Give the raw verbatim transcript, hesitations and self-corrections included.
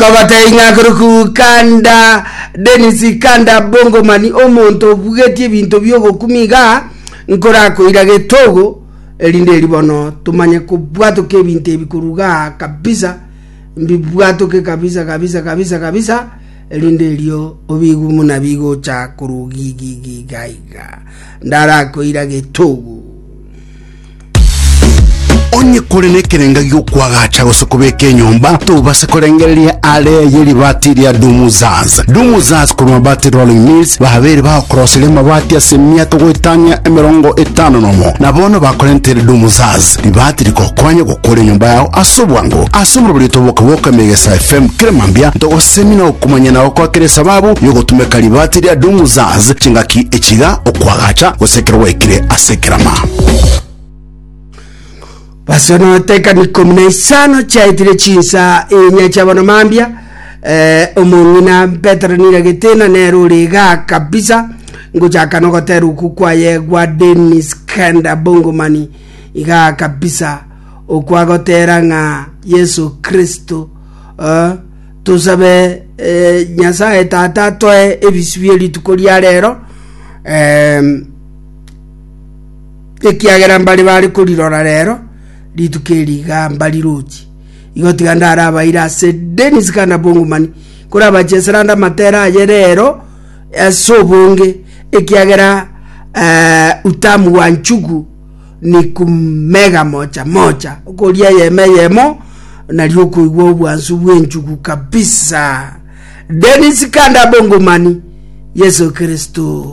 Nkobatebia ng'a koroku Kanda Dennis Kanda Bongomani, omonto obugetie ebinto bi'ogokumi iga nkorakoira getogo, erinde eri bono tomanye kobwatoka ebinto ebi koruga kabisa, mbibwatoke kabisa kabisa kabisa kabisa, erinde erio obigu muna bigocha korugigigiga iga ndarakoira getogo. Onye kore nekerenga giokwagacha gose kobeka enyomba, tobase korengereria are ye ribati ria Dumuzaz. Dumuzaz korwa Mabati Rolling Mills babere bagokoroseria amabati ase emiaka goetania emerongo etano nomo, na bono bakorentere Dumuzaz ribati rikokonya gokora enyomba yao ase obwango. Ase omorobori toboka Megesa F M keremambia ntogosemi na okomanya na okwakera esababu yogotumeka ribati ria Dumuzaz chingaki echiga okwagacha gose ekero gwaikire ase ekerama. Basono teka ni kumi na isano chiaetire chinsa inya chiabono mambia. eh, omong'ina Petero niragetena nero ore iga kabisa ngochaka nogotera oku kwaye gwa Dennis Kenda Bongomani iga kabisa okwagotera ng'a Yesu Kristo. eh, tusabe eh, Nyasaye Tata atoe ebisi bie rituko ria rero, eh, ekiagera mbari bari korirora rero rituko eri iga mbarirochi igo. Tiga ndarabaire ase Denis Kanda Bongomani korabachesera amatera aye rero ase obonge, ekiagera uh, utamu wa nchugu ni kumega moja moja, okoria eyemo eyemo nario okoigwa obwansu bw'enchugu kabisa. Denis Kanda Bongomani, Yesu Kristo.